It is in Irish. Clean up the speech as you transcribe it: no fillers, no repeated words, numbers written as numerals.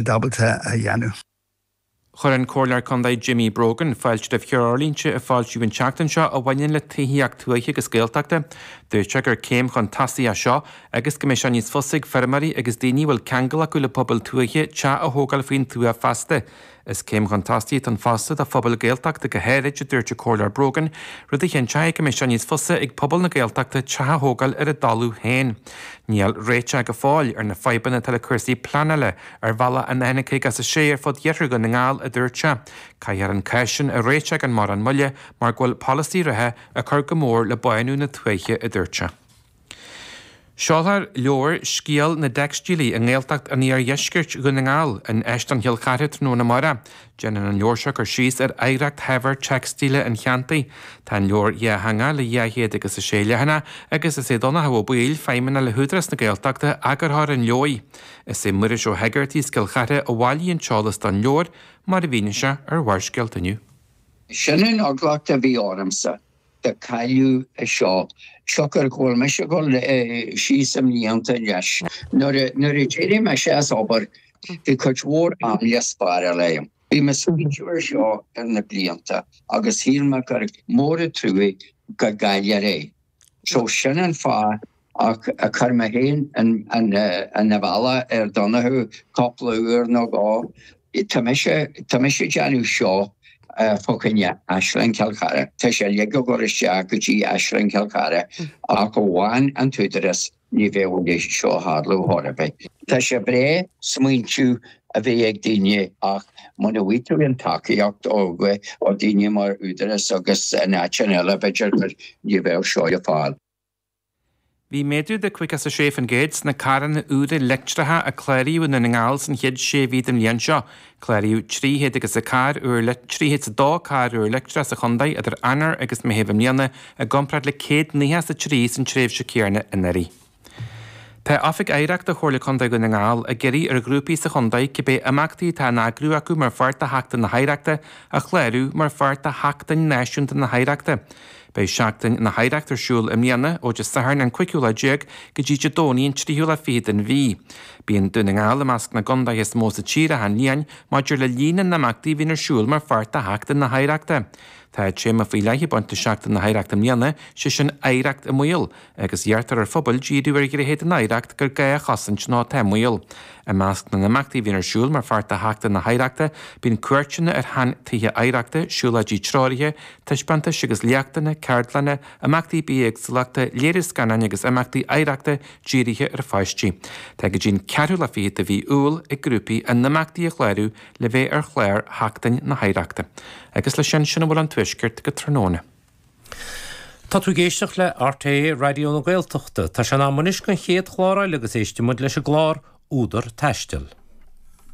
Ábalta a dhéanamh. Chuir an Comhairleoir Contae Jimmy Brogan fáilte roimh threoirlínte a foilsíodh an tseachtain seo a bhaineann le tithíocht tuaithe agus Gaeltachta. Dúirt sé gur céim chun tosaigh é seo agus go mbeidh sé níos fusa ag feirmeoirí agus daoine a bhfuil ceangal acu le pobail tuaithe teach a thógáil faoin tuath feasta. Is céim chun tosaigh atá ann fosta do phobail Gaeltachta go háirid, a dúirt an Comhairleoir Brogan, rud a chinnteoidh go mbeidh sé níos fusa ag pobal na Gaeltachta teach a thógáil ar a dtalamh féin. Níl réiteach go fóill ar na fadhbanna atá le cúrsaí pleanála ar bhealach an N56 ar fud Iarthar Dhún na nGall, a dúirt sé. Caithfear an cás sin a réiteach gan mórán moille mar go bhfuil polasaí reatha ag cur go mór le bánú na tuaithe, a dúirt sé. Seolfar leabhar Scéal na dTeicstílí i nGaeltacht an Iardheiscirt Dhún na nGall in Áislann Chill Chartha tráthnóna amárach. Déanann an leabhar seo cur síos ar oidhreacht shaibhir teicstíle an cheantair. Tá an leabhar dhátheangach le 206 leathanach agus is é Donnchadh Ó Baoill, Feidhmeannach le hÚdarás na Gaeltachta, eagarthóir an leabhair. Is é Muiris Ó hEigeartaigh as Cill Chartha a bhailigh an t-eolas don leabhar, mar a mhínigh sé ar Bharrscéalta inniu. Sin an eagla a bhí ormsa. Go gcaillfí é seo, siocair go bhfuil mise ag dul síos i mblianta anois. Nuair a d'éirigh mise as obair bhí cuid mhór am le spáráil agam. Bhí mé ag smaointiú ar seo ar na blianta agus shíl mé gur mór an trua go gcaillfear é. So sin an fáth ach a chuir mé féin an bhealach ar Donnchadh cúpla uair nó dhó. Tá mise, tá mise ag déanamh seo fá choinne Áislann Chill Chartha. Tá sé uilig ag dul isteach go dtí Áislann Chill Chartha ach amháin an t-údarás ní bheadh a leithéid seo ag tarlú chor ar bith. Tá sé breá smaointiú a bheith ag daoine ach muna bhfaighidh tú an tacaíocht ó daoine mar údarás agus in áiteanna eile b'fhéidir gur ní bheadh seo le fáil. Bhí méadú de 56% sna carranna úra leictreacha a cláraíodh i nDún na nGall san chéad sé mhí den bhliain seo. Cláraíodh 304 úr 302 carr úr leictreach sa chontae idir Eanáir agus Meitheamh i mbliana i gcomparáid le 193 san tréimhse céanna anuraidh. Tá Oifig Oidhreachta Chomhairle Contae Dhún na nGall ag iarraidh ar ghrúpaí sa chontae cibé imeachtaí atá á n-eagrú acu mar pháirt de Sheachtain na hOidhreachta a chlárú mar pháirt de Sheachtain Náisiúnta na hOidhreachta. Beidh Seachtain na hOidhreachta ar siúl i mbliana ó Dé Sathairn an cúigiú lá déag go dtí Dé Domhnaigh an tríú lá fichead den mhí. Bíonn Dún na nGall i measc na gcontaetha is mó sa tír achan bhliain maidir le líon na n-imeachtaí a bhíonn ar siúl mar pháirt de Sheachtain na hOidhreachta. Tá téama faoi leith ag baint le Seachtain na hOidhreachta i mbliana, sé sin 'Oidhreacht i mBaol'. agus iarrtar ar phobail díriú ar ghnéithe den oidhreacht gur gá a chosaint nó atá i mbaol. I measc na n-imeachtaí a bhíonn ar siúl mar pháirt de Sheachtain na hOidhreachta, bíonn cuairteanna ar shean-tithe oidhreachta, siúlóidí treoraithe, taispeántais agus léachtanna, ceardlanna, imeachtaí bithéagsúlachta, léiriú scannáin agus imeachtaí oidhreachta dírithe ar pháistí. Tá go dtí an ceathrú lá fichead de mhí Iúil ag grúpaí a n-imeachtaí a chlárú le bheith ar chlár Sheachtain na hOidhreachta. Agus leis sin, sin a bhfuil ón Tuaisceart go tráthnóna. Tá tú ag éisteacht le RTÉ Raidió na Gaeltachta. Tá sé in am anois don chéad chlár eile agus éistfidh muid leis an gclár Údar Taistil.